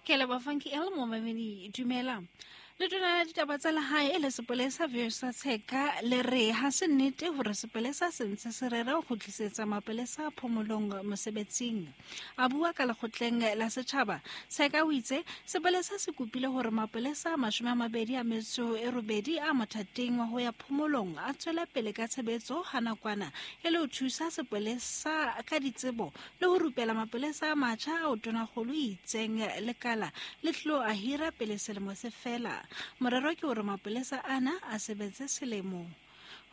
Ke leboha Funky L momamedi dumela. Letona la ditaba tsa lehae e le sepolesa Viosa Tsheka le re ha se nnete hore sepolesa se ntse se rera ho kgutlisetsa mapolesa phomolong mosebetsing. A bua ka lekgotleng la setjhaba, Tsheka o itse sepolesa se kopile hore mapolesa a 28 a mothating wa ho ya phomolong a tswele pele ka tshebetso ha nakwana e le ho thusa sepolesa ka ditsebo le ho rupela mapolesa a matjha ao tonakgolo e itseng lekala le tlilo a hira pele selemo se fela. Morero ke hore mapolesa ana a sebetse selemo.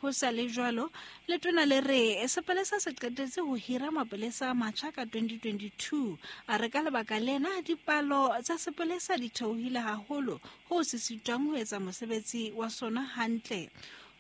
Ho sa le jwalo, letona le re sepolesa se qetetse ho hira mapolesa a matjha ka 2022. A re ka lebaka lena dipalo tsa sepolesa di theohile haholo hoo se sitwang ho etsa mosebetsi wa sona hantle.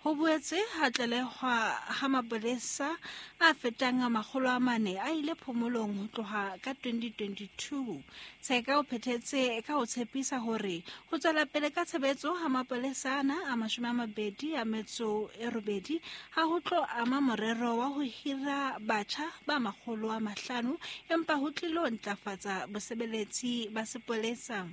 Ho boetse ha tlalehwa ha mapolesa a fetang 400 a ile phomolong ho tloha ka 2022. Tsheka o phethetse ka ho tshepisa hore ho tswela pele ka tshebetso ha mapolesa ana a 28 ha ho tlo ama morero wa ho hira batjha ba 500 empa ho tlilo ntlafatsa bosebeletsi ba sepolesa.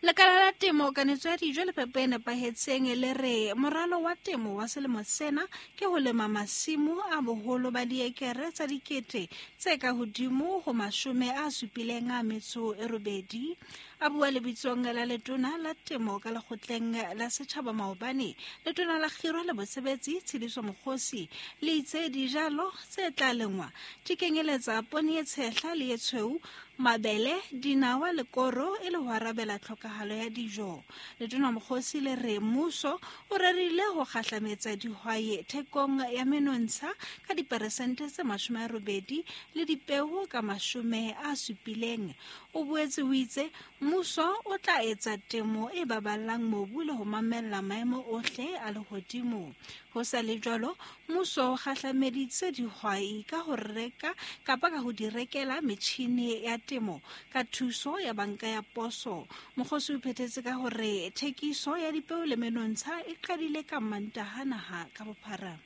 Lekala la temo, kanetso ya dijo le phepo e nepahetseng le re moralo wa temo wa selemo sena ke ho lema masimo a boholo ba diekere tsa dikete tse ka hodimo ho 78. A bua lebitsong la letona la temo ka lekgotleng la setjhaba maobane, letona la kgiro le bosebetsi Tshediso Mokgosi le itse dijalo tse tla lengwa di kenyeletsa poone e tshehla le e tshweu, mabele, dinawa le koro e le ho arabela tlhokahalo ya dijo. Letona Mokgosi le re mmuso o rerile ho kgahlametsa dihwai thekong ya menontsha ka diperesente tse 80 le dipeo ka 70. O boetse o itse mmuso o tla etsa temo e baballang mobu le ho mamella maemo ohle a lehodimo. Ho sa le jwalo, mmuso o kgahlameditse dihwai ka ho reka kapa ka ho di rekela metjhini ya temo ka thuso ya banka ya poso. Mokgosi o phethetse ka hore thekiso ya dipeo le menontsha e qadile ka Mantaha naha ka bophara.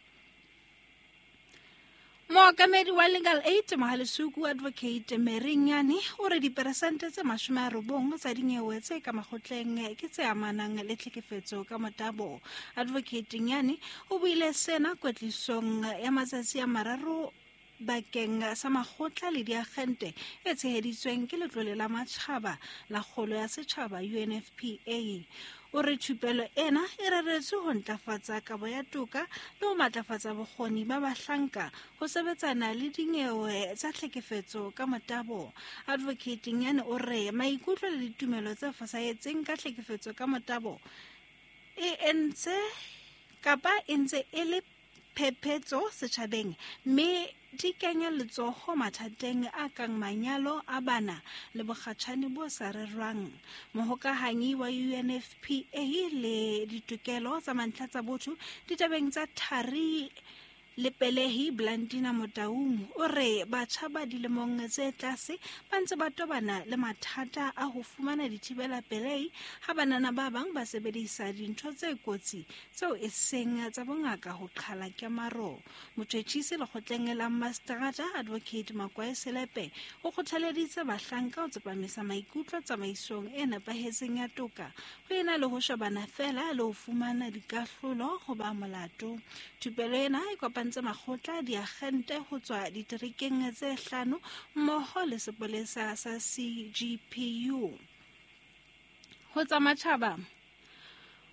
Mookamedi wa Legal Aid Mohalesuku Advocate Mary Nyane o re diperesente tse 90 tsa dinyewe tse ka makgotleng ke tse amanang le tlhekefetso ka motabo. Advocate Nyane o buile sena kwetlisong ya matsatsi a mararo bakeng sa makgotla le diagente e tsheheditsweng ke Letlole la Matjhaba la Kgolo ya Setjhaba UNFPA. O re thupelo ena e reretswe ho ntlafatsa kabo ya toka le ho matlafatsa bokgoni ba bahlanka ho sebetsana le dinyewe tsa tlhekefetso ka motabo. Advocate Nyane o re maikutlo le ditumelo tse fosahetseng ka tlhekefetso ka motabo e entse kapa e ntse e le phephetso setjhabeng mme di kenya letsoho mathateng a kang manyalo a bana le bokgatjhane bo sa rerwang. Mohokahanyi wa UNFPA le ditokelo tsa mantlha tsa botho ditabeng tsa thari le pelehi Blandina Motaung o re batjha ba dilemong tse tlase ba ntse ba tobana le mathata a ho fumana dithibela pelehi ha banana ba bang ba sebedisa dintho tse kotsi tseo e seng tsa bongaka ho qhala kemaro. Motjhetjhisi lekgotleng la Mastrata Advocate Makwae Selepe o kgothaleditse bahlanka ho tsepamisa maikutlo tsamaisong e nepahetseng ya toka ho ena le ho shebana fela le ho fumana dikahlolo ho ba molato. Thupelo ena e kopantse makgotla diagente ho tswa diterekeng tse 5 mmoho le sepolesa sa CGPU. Ho tsa matjhaba,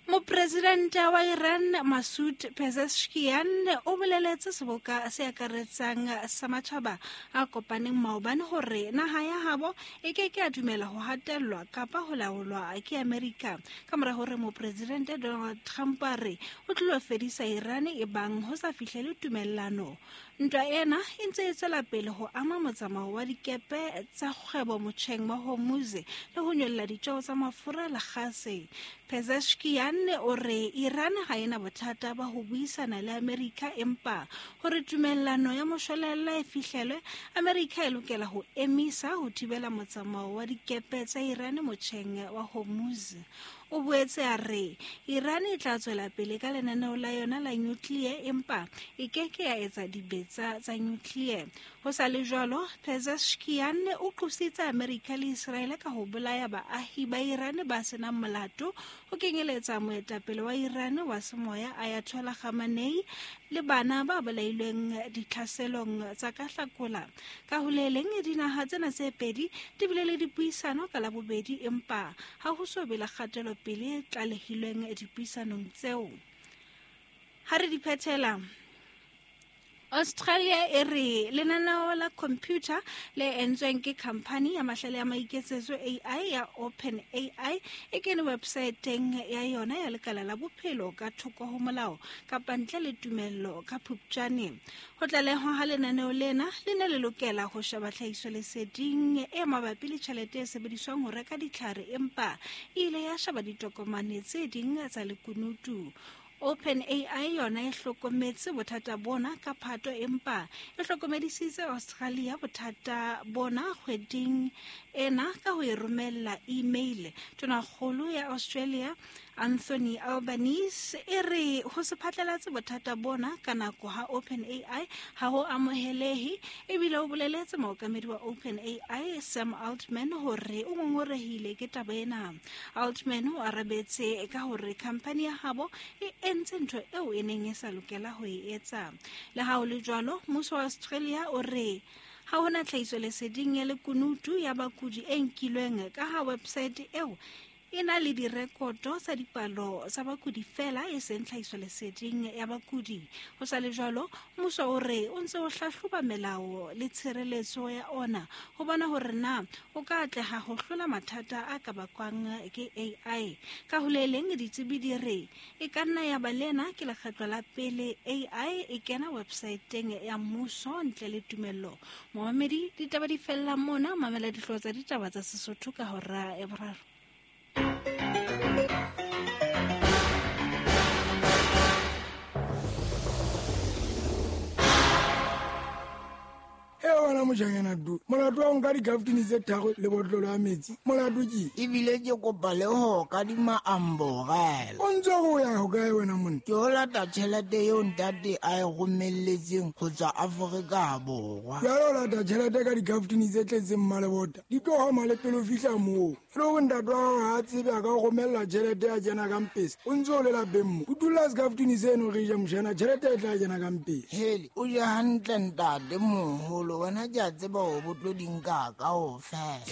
Mopresidente wa Iran Masoud Pezeshkian o boleletse seboka se akaretsang sa matjhaba a kopaneng maobane hore naha ya habo e ke ke a dumela ho hatellwa kapa ho laolwa ke Amerika ka mora hore mopresidente Donald Trump a re o tlilo fedisa Iran e bang ho sa fihlele tumellano. Ntwa ena e ntse e tswela pele ho ama motsamao wa dikepe tsa kgwebo motjheng wa Hormuz le ho nyolla ditjeo tsa mafura le gase. Pezeshkian o re Iran ha ena bothata ba ho buisana le Amerika empa hore tumellano ya moshwelella e fihlelwe, Amerika e lokela ho emisa ho thibela motsamao wa dikepe tsa Iran motjheng wa Hormuz. O boetse a re Iran e tla tswela pele ka lenaneo la yona la nuclear empa e ke ke ya etsa dibetsa tsa nuclear. Ho sa le jwalo, Pezeshkian o qositse Amerika le Israele ka ho bolaya baahi ba Iran ba senang molato, ho kenyeletsa moetapele wa Iran wa semoya Ayatollah Khamenei le bana ba bolailweng ditlhaselong tsa ka Hlakola. Ka ho le leng, dinaha tsena tse pedi di bile le dipuisano ka Labobedi, empa ha ho so be le kgatelopele e tlalehilweng dipuisanong tseo. Ha re di phethela, Australia e re lenaneo la computer le entsweng ke khamphani ya mahlale ya maiketsetso AI ya OpenAI e kene websaeteng ya yona ya lekala la bophelo ka thoko ho molao kapa ntle le tumello ka Phupjane. Ho tlalehwa ha lenaneo lena le ne le lokela ho sheba tlhahisoleseding e mabapi le tjhelete e sebediswang ho reka ditlhare, empa e ile ya sheba ditokomane tse ding tsa lekunutu. OpenAI yona e hlokometse bothata bona ka Phato, empa e hlokomedisitse Australia bothata bona kgweding ena ka ho e romella email. Tonakgolo ya Australia Anthony Albanese e re ho se phatlalatse bothata bona ka nako ha OpenAI ha ho amohelehe, ebile o boleletse mookamedi wa OpenAI Sam Altman hore o ngongorehile ke taba ena. Altman o arabetse ka hore khamphani ya habo e entse ntho eo e neng e sa lokela ho e etsa. Le ha ho le jwalo, mmuso wa Australia o re ha hona tlhahisoleseding ya lekunutu ya bakudi e nkilweng ka ha website eo e na le direkoto tsa dipalo tsa bakudi fela, e seng tlhahisoleseding ya bakudi. Ho sa le jwalo, mmuso o re o ntse o hlahloba melao le tshireletso ya ona ho bona hore na o ka atleha ho hlola mathata a ka bakwang ke AI. Ka ho le leng, ditsebi di re e ka nna ya ba lena ke lekgetlo la pele AI e kena websaeteng ya mmuso ntle le tumello. Momamedi, ditaba di fella mona. Mamela dihlooho tsa ditaba tsa Sesotho ka hora ya boraro. E wena mojanyana du, molato wa nka dikaftini tse tharo le botlolo ya metsi, molato ke ebile ke kopa le ho kadima amborela. O ntse o ya hokae wena monna? Ke o lata tjhelete eo ntate a e romelletseng ho tswa Afrika Borwa. Jwale o lata tjhelete ka dikaftini tse tletseng mmalebota, di tlo hama le pele o fihla moo. Le hore ntate wa hao ha a tsebe a ka o romella tjhelete ya kena ka mpesa, o ntse o le lapeng mo. O dula sekaftini seno re ja mojana, tjhelete e tla kena ka mpesa. Hele, o je hantle ntate moholo, wena ke a tseba hore bo tlo di nka kaofela.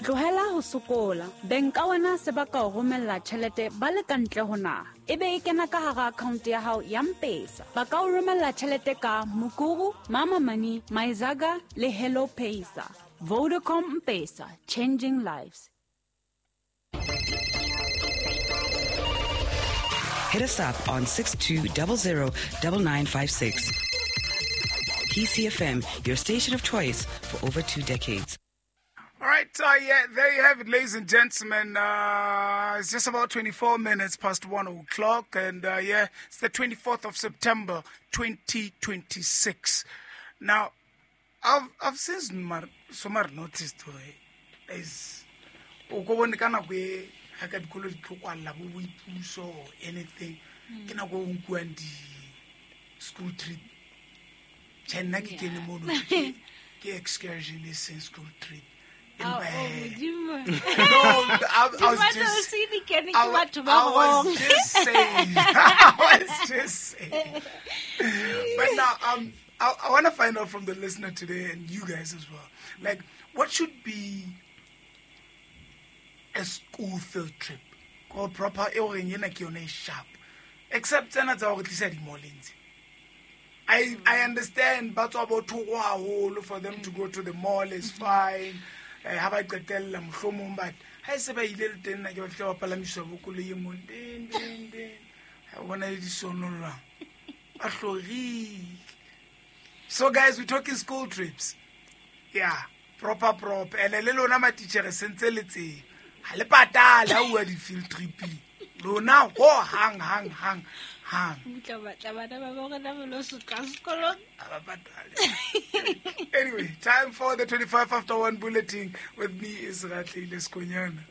Tlohela ho sokola. Beng ka wena se ba ka o romella tjhelete ba le ka ntle ho naha, e be e kena ka hara account ya hao ya M-Pesa. Ba ka o romella tjhelete ka Mukuru, Mama Money, Myzaga le Hello Pesa. Vodacom M-Pesa, changing lives. Hit us up on 6200 9956. PCFM, your station of choice for over 2 decades. All right, yeah, there you have it, ladies and gentlemen. It's just about 24 minutes past 1 o'clock, and yeah, it's the 24th of September, 2026. Now, I've since somewhere noticed is o ko bone ka nako e ha ka dikolo di tlo kwalla bo boipuso or anything, ke nako e nkuwang di school trip. Tjhe, nna ke kene mono, ke excursion e seng school trip. Oh, Empa, Modimo. No, I was Di batla just ho se di kene ke I batho ba I was wrong. just saying. I was just saying. But now, I want to find out from the listener today and you guys as well. Like, what should be a school field trip? Or proper, e horeng ena ke yona e sharp. Except tsena tsa hore tlisa di-mall-eng tse. I understand ba tswa bo thoko haholo for them to go to the mall is fine. Ha ba qetella mohlomong, but ha e se ba ile le teng nna ke ba fihla ba palamiswa bo koloi e mong, ding, ding, ding. Ha o bona le disono jwang. Ba hlorile. So guys, we're talking school trips. Yeah, proper proper. And le lona matitjhere sentse le tseba. Ha le patale ha uwa di-field trip-ing. Lona ho hang, hang, hang, hang. Mutla batla bana ba bo rona ba lo sotla sekolong. Ha ba patale. Anyway, time for the 25 after 1 bulletin with me is Ratlile Skonyana.